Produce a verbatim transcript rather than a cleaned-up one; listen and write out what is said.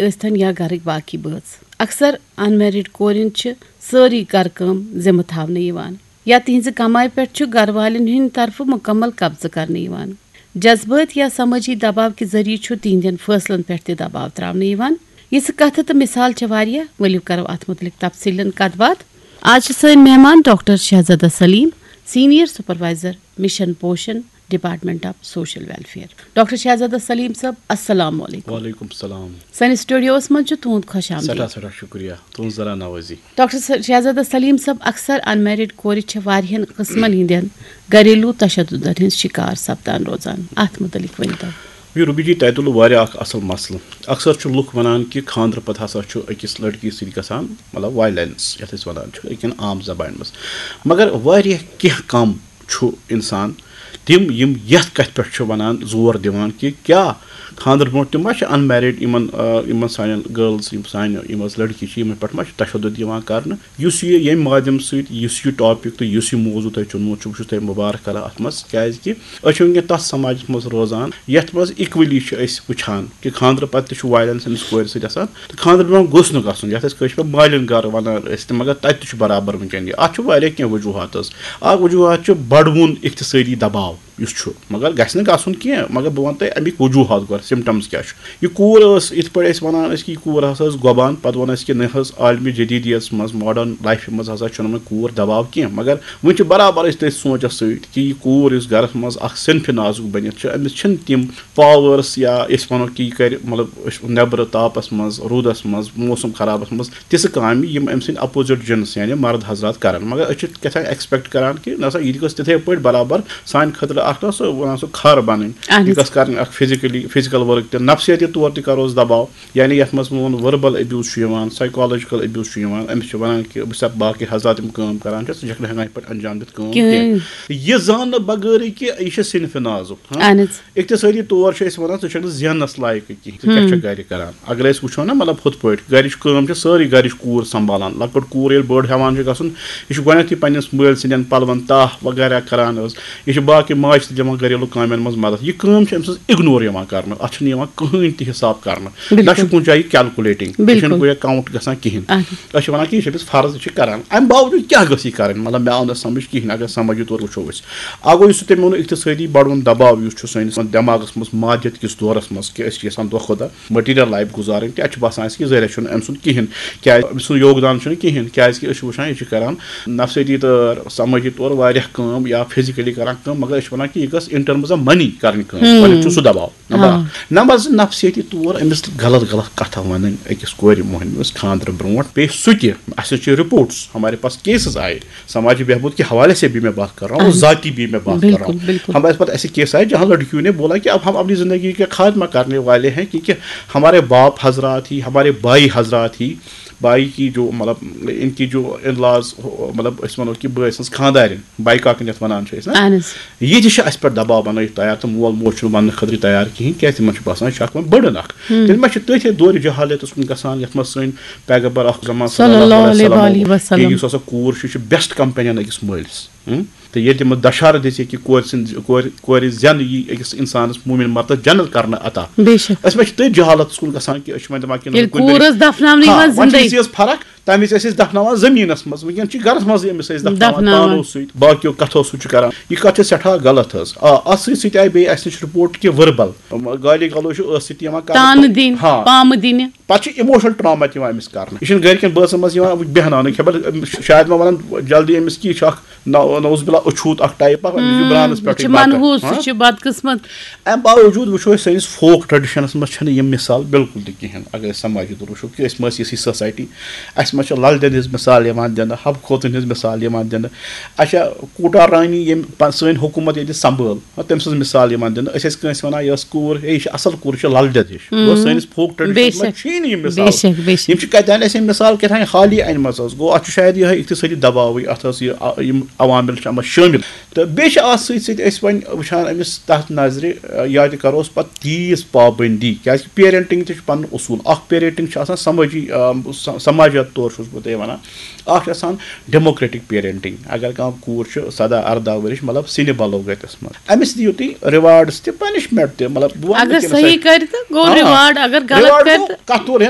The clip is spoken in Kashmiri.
ٲسۍتن یا گرٕکۍ باقی بٲژ۔ اکثر ان میرڈ کورٮ۪ن چھِ سٲرٕے گرٕ کٲم ذمہٕ تھاونہٕ یِوان یا تِہنٛزِ کمایہِ پٮ۪ٹھ چھُ گرٕ والٮ۪ن ہٕنٛدِ طرفہٕ مُکمل قبضہٕ کرنہٕ یِوان۔ جذبٲتۍ یا سمٲجی دباو کہِ ذٔریعہٕ چھُ تِہنٛدٮ۪ن فٲصلن پٮ۪ٹھ تہِ دباو تراونہٕ یِوان۔ یِژھٕ کتھٕ تہٕ مثال چھےٚ واریاہ، ؤلِو کرو اتھ مُتعلق تفصیٖلن کتھ باتھ۔ آز چھِ سٲنۍ مہمان ڈاکٹر شہزادہ سلیم، سینئر سپروائزر مشن پوشن، department of social welfare. Doctor شہزادہ سلیم صٲب، السلام علیکم۔ وعلیکم السلام۔ سٲنِس سٹوڈیوس منٛز چھُ تُہُنٛد خۄش آمدید۔ سٮ۪ٹھاہ سٮ۪ٹھاہ شُکریہ تُہٕنٛز ذرا نوٲزی۔ ڈاکٹر س- شہزادہ سلیم صٲب، اکثر ان میرڈ کورِ چھِ واریاہن قٕسمن ہٕنٛدٮ۪ن گھریلو تشددن ہٕنٛز شکار سپدان روزان، اتھ متعلق ؤنۍ تو۔ یہِ روبی جی، تۄہہِ تُلوٕ واریاہ اکھ اصل مسلہٕ۔ اکثر چھُ لُکھ ونان کہِ خانٛدرٕ پتہٕ ہسا چھُ أکِس لڑکی سۭتۍ گژھان، مطلب، وائلنس، یتھ أسۍ ونان چھِ أکِن عام زبانہِ منٛز۔ مگر واریاہ کینٛہہ کم چھُ انسان تِم، یِم یتھ کتھِ پٮ۪ٹھ چھِ ونان، زور دِوان کہِ کیٛاہ خانٛدرٕ برونٛٹھ تہِ ما چھِ ان میرڈ یِمن، آ، یِمن سانٮ۪ن گرلز، یِم سانہِ، یِم حظ لڑکی چھِ، یِمن پٮ۪ٹھ ما چھُ تشدد یِوان کرنہٕ؟ یُس یہِ ییٚمہِ مادھیم سۭتۍ یُس یہِ ٹاپک تہٕ یُس یہِ موضوع تۄہہِ چُنمُت چھُ، بہٕ چھُس تۄہہِ مُبارک کران اتھ منٛز، کیازِ کہِ أسۍ چھِ وٕنکیٚن تتھ سماجس منٛز روزان یتھ منٛز اِکولی چھِ أسۍ وٕچھان کہِ خانٛدرٕ پتہٕ تہِ چھُ وائلنس أمِس کورِ سۭتۍ آسان، تہٕ خانٛدرٕ برونٛہہ گوٚژھ نہٕ گژھُن، یتھ أسۍ کٲشِر پٲٹھۍ مالِن گرٕ ونان ٲسۍ تہِ، مگر تتہِ تہِ چھُ برابر وٕنکیٚن یہِ۔ اتھ چھُ واریاہ کینٛہہ وجوہات حظ۔ اکھ وجوہات چھُ بڑوُن اقتصٲدی دباو یُس چھُ، مگر گژھِ نہٕ گژھُن کینٛہہ، مگر بہٕ ونہٕ تۄہہِ امیِکۍ وجوہات گۄڈٕ، سمٹمز کیٛاہ چھُ۔ یہِ کوٗر ٲس، یِتھ پٲٹھۍ أسۍ ونان ٲسۍ کہِ یہِ کوٗر ہسا ٲس گۄبان، پتہٕ ووٚن اَسہِ کہِ نہ حظ، عالمِ جدیدیت منٛز، ماڈرن لایفہِ منٛز ہسا چھُنہٕ وۄنۍ کوٗر دباو کینٛہہ، مگر وۄنۍ چھِ برابر أسۍ تٔتھۍ سونچس سۭتۍ کہِ یہِ کوٗر یُس گرس منٛز اکھ صنفِ نازُک بٔنِتھ چھِ، أمِس چھِنہٕ تِم پاورس یا أسۍ ونو کہِ یہِ کرِ، مطلب، أسۍ نیبرٕ تاپس منٛز، روٗدس منٛز، موسم خرابس منٛز تِژھٕ کامہِ یِم أمۍ سٕنٛدۍ اپوزٹ جنس یعنی مرد حضرات کران، مگر أسۍ چھِ کیٛاہ تام ایکسپیکٹ کران کہِ نہ سا یہِ تہِ گٔژھ تِتھے پٲٹھۍ برابر سانہِ خٲطرٕ اکھ نہ سُہ ونان سُہ کھر بنٕنۍ، اہن یہِ حظ۔ گٔژھ کرٕنۍ اکھ فزیکلی فزیکل ورک تہِ، نفسیٲتی طور تہِ کروس دباو، یعنی یتھ منٛز میون وربل ابیوز چھُ یِوان، سایکالجیکل ابیوز چھُ یِوان، أمِس چھِ ونان کہِ بہٕ چھُس باقٕے حضرات یِم کٲم کران چھِ، ژٕ چھکھ نہٕ ہٮ۪کان یِتھ پٲٹھۍ انجام دِتھ کٲم کینٛہہ۔ کِہیٖنۍ۔ یہِ زاننہٕ بغٲرٕے کہِ یہِ چھِ صنفِ نازُک، ہاں؟ اہن حظ۔ اقتصٲدی طور چھِ أسۍ ونان ژٕ چھکھ نہٕ زیننس لایقٕے کِہیٖنۍ، ژٕ کیٛاہ چھکھ گرِ کران؟ اگر أسۍ وٕچھو نا، مطلب، ہُتھ پٲٹھۍ گرِچ کٲم چھِ سٲرٕے گرِچ کوٗر سنبھالان۔ لۄکٕٹ کوٗر ییٚلہِ بٔڑ ہٮ۪وان چھِ گژھُن، یہِ چھِ گۄڈٕنٮ۪تھٕے پننِس مٲلۍ سٕنٛدٮ۪ن پلون تاہ وغیرہ کران حظ۔ یہِ چھِ باقٕے ماجہِ تہِ دِوان گریلو کامٮ۪ن منٛز مدد۔ یہِ کٲم چھِ أمۍ سٕنٛز اگنور یِوان کرنہٕ، اتھ چھُنہٕ یِوان کٕہٕنۍ تہِ حساب کرنہٕ۔ نہ چھُ بِلکُل۔ کُنہِ جایہِ کیلکولیٹنگ، یہِ چھُنہٕ بِلکُل۔ کُنہِ جایہِ کاؤنٹ گژھان کِہیٖنۍ۔ اہن۔ أسۍ چھِ ونان کہِ یہِ چھِ أمِس فرض، یہِ چھِ کران۔ امہِ باوجود کیٛاہ گٔژھ یہِ کرٕنۍ؟ مطلب، مےٚ آو نہٕ سمجھ کِہیٖنۍ۔ اگر سمجھ یہِ تور وٕچھو أسۍ، اکھ گوٚو یُس تۄہہِ مےٚ ووٚنوُ اقتصٲدی بڑوُن دباو یُس چھُ سٲنِس دٮ۪ماغس منٛز مادیت کِس دورس منٛز، کہِ أسۍ چھِ یژھان دۄہ کھۄتہٕ دۄہ مٹیریل لایف گُزارٕنۍ، تہِ اَتہِ چھُ باسان اَسہِ کہِ ذٔریعہ چھُنہٕ أمۍ سُنٛد کِہیٖنۍ، کیٛازِ أمۍ سُنٛد یوگدان چھُنہٕ کِہیٖنۍ، کیٛازِ کہِ أسۍ چھِ وٕچھان یہِ چھِ کران نفسیٲتی طور، سمٲجی طور واریاہ کٲم یا فزیکلی کران کٲم، مگر أسۍ چھِ ونان کہِ یہِ گٔژھ in terms of money کرٕنۍ کٲم۔ گۄڈٕنیُک چھُ سُہ دباو۔ نمبر اکھ۔ نمبر زٕ، نفسیٲتی طور أمِس غلط غلط کتھٕ ونٕنۍ أکِس کورِ مۄہنوِس خانٛدرٕ برونٛٹھ، بیٚیہِ سُہ تہِ، اَسہِ چھِ رپورٹس، ہمارے پاس کیسز آئے، سماجی بہبود کے حوالے سے بھی میں بات کر رہا ہوں اور ذاتی بھی میں بات کر رہا ہوں۔ ہمارے پاس ایسے کیس آئے جہاں لڑکیوں نے بولا کہ اب ہم اپنی زندگی کا خاتمہ کرنے والے ہیں، کیونکہ ہمارے باپ حضرات ہی، ہمارے بھائی حضرات ہی، بھائی کی جو، مطلب، ان کی جو ان لاز، مطلب، أسۍ وَنو کہِ بٲے سٕنٛز خانٛدارِنۍ، باے کاکٕنۍ یَتھ وَنان چھِ أسۍ نا، اہن حظ۔ یہِ تہِ چھِ اَسہِ پٮ۪ٹھ دباو بَنٲیِتھ تیار تہٕ مول موج چھُنہٕ وَننہٕ خٲطرٕ تیار کِہیٖنۍ، کیٛازِ تِمَن چھُ باسان یہِ چھُ اَکھ وۄنۍ بٔڑٕن اَکھ۔ تیٚلہِ ما چھِ تٔتھۍ دورِ جہالتَس کُن گژھان، یَتھ منٛز سٲنۍ پیغمبر اکھ زمان صلی اللہ علیہ وسلم، یُس ہسا کوٗر چھُ، یہِ چھُ بیسٹ کمپینین أکِس مٲلِس۔ ہم؟ تہٕ ییٚلہِ تِمو دشہرٕ دِژ کہِ کورِ سٕنٛز، کورِ، کورِ زینہٕ یی أکِس اِنسانَس مومِن مردَس جنت کرنہٕ عطا۔ بے شک۔ أسۍ ما چھِ تٔتھۍ جہالتس کُن گژھان کہِ أسۍ چھِ وۄنۍ دَپان کہِ نہ، ییٚلہِ کُنہِ کوٗر ٲس دفناونہٕ ہاں، یِوان وۄنۍ چھِ زِندَے۔ یہِ چیٖز فرق، تَمہِ وِزِ ٲسۍ أسۍ دفناوان زٔمیٖنَس منٛز، وٕنکیٚن چھِ گرَس منٛزٕے أمِس أسۍ دفناوان دفناوان۔ تانو سۭتۍ، باقیو کتھو سۭتۍ چھِ کران۔ یہِ کتھ چھِ سٮ۪ٹھاہ غلط حظ۔ آ، اَتھ سۭتۍ سۭتۍ آیہِ بیٚیہِ اَسہِ نِش رپورٹ کہِ ؤربل گالی گلوچ چھُ ٲسہٕ سۭتۍ یِوان کرنہٕ۔ تانہٕ دِنۍ، ہاں۔ پامہٕ دِنہِ۔ پتہٕ چھُ emotional trauma تہِ یِوان أمِس کرنہٕ۔ یہِ چھُنہٕ گرِکٮ۪ن بٲژن منٛز یِوان بیہناونہٕ، خبر، شاید ما ونان جلدی أمِس کہِ یہِ چھُ اکھ نعو-، نعوذ باللہ اچھوت اکھ ٹائپ اکھ، أمِس چھُ ہم، برانس یہِ پٮ۪ٹھٕے چھُ بتہٕ۔ منحوس، ہاں؟ سُہ چھُ بدقسمت۔ امہِ باوجود وٕچھو أسۍ سٲنِس فوک ٹریڈیشنس منٛز چھنہٕ یِم مثال بالکل تہِ کِہینۍ۔ اگر أسۍ سماجی طور وٕچھو کہِ أسۍ ما ٲسۍ یِژھٕے سوسایٹی، اسہِ ما چھِ لل دٮ۪دِ ہٕنٛز مثال یِوان دِنہٕ، حب خوتُن ہٕنٛز مثال یِوان دِنہٕ۔ اچھا، کوٹا رانی ییٚمۍ پن-، سٲنۍ حکوٗمت ییٚتہِ سنبھٲل، ہاں، تٔمۍ سٕنٛز مثال یِوان دِنہٕ۔ أسۍ ٲسۍ کٲنٛسہِ وَنان، یۄس کوٗر، ہے، یہِ چھِ اَصٕل کوٗر، یہِ چھِ لل دٮ۪د ہِش۔ گوٚو، سٲنِس فوک ٹریڈیشنَس منٛز چھِی نہٕ یِم مثال۔ یِم چھِ کَتہِ اَنہِ اَسہِ یِم مثال، کیٛاہ تام حالی اَنِمَژٕ حظ۔ گوٚو، اَتھ چھُ شاید یِہوٚے اقتصٲدی دباوٕے، اَتھ ٲس یہِ، آ، یِم عوامل چھِ اَتھ منٛز شٲمِل۔ تہٕ بیٚیہِ چھِ اَتھ سۭتۍ سۭتۍ أسۍ وۄنۍ وٕچھان أمِس تَتھ نظرِ، آ، یا تہِ کَروس پَتہٕ تیٖژ پابنٛدی، کیٛازِکہِ پیرنٹِنٛگ تہِ چھُ پَنُن اصوٗل۔ اَکھ پیرنٹِنٛگ چھِ آسان سمٲجی، آ، س-، سماجیات طور چھُس بہٕ تۄہہِ وَنان۔ اَکھ چھِ آسان democratic parenting۔ اگر کانٛہہ کوٗر چھِ سداہ ارداہ ؤرِش، مطلب، سِنہِ بلوغتس منٛز، أمِس دِیِو تُہۍ rewards تہِ، punishment تہِ، مطلب، بہٕ وَنہٕ نہٕ اگر کہِ نہ سا صحیح یہِ کرِ تہٕ گوٚو آ، reward، اگر غلط reward کرِ گوٚو تہٕ کتھ تور